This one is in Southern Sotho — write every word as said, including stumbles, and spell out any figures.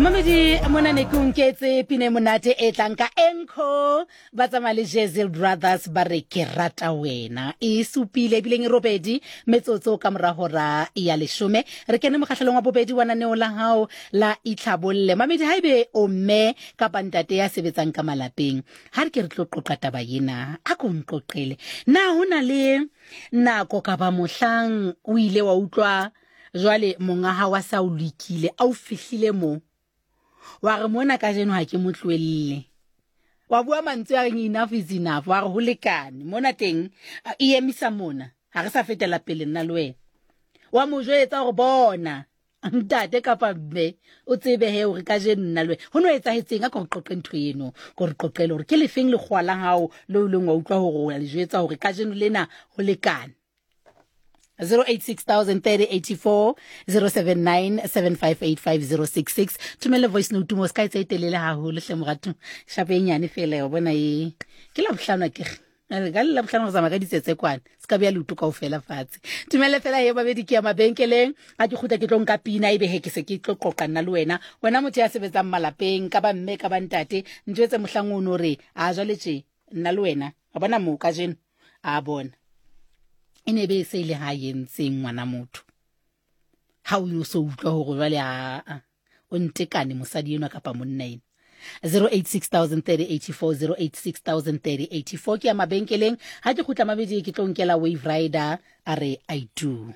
Mamedi mona ne ke o nketse pina e monate e tlang ka Enco ba tsamaya le Jezil Brothers ba re ke rata wena. E supile ebileng e robedi metsotso ka mora hora ya leshome. Re kene mokgahlelong wa bobedi wa naneo la hao la itlhabolle. Mamedi haebe o mme kapa ntate ya sebetsang ka malapeng, ha re ke re tlo qoqa taba ena, a ko nqoqele. Na ho na le nako kapa mohlang o ile wa utlwa jwale monga hao a sa o lekile, a o fihlile mo wa re mona kajeno ha ke mo tlohelle, wa bua mantswe a reng enough is enough, wa re ho lekane mona teng, e emisa mona, ha re sa fetela pele nna le wena. Wa mo jwetsa hore bona ntate kapa mme o tsebe he hore kajeno nna le wena ho no etsahetseng. A ko re qoqe ntho eno, ko re qoqele hore ke lefeng lekgowa la hao le o ileng wa utlwa hore o le jwetsa hore kajeno lena ho lekane. Zero eight six thousand thirty eighty four zero seven nine seven five eight five zero six six. Thumele voice note mo ska etsa e telele haholo hle moratu. Shape e nyane fela wa bona e. Ke la bohlano ke re. Ka le la bohlano re tsamaya ka ditsetse kwana. Se ka beya leoto kaofela fatshe. Thumele fela he babedi ke ya mabenkeleng. Ha ke kgutla ke tlo nka pina ebe he ke se ke tlo qoqa nna le wena. Wena motho ya sebetsang malapeng ka ba mme ka ba ntate, ntjwetse mohlang o no re a jwale tje nna le wena. Wa bona mo kajeno a bona. E ne be se ile ha yentseng ngwana motho. Ha o no so utlwa hore jwale a a o ntekane mosadi enwa kapa monna ena. Zero eight six thousand thirty eighty four zero eight six thousand thirty eighty four. Ke ya mabenkeleng. Ha ke kgutla mabedi ke tlo nkela Wave Rider a re I do.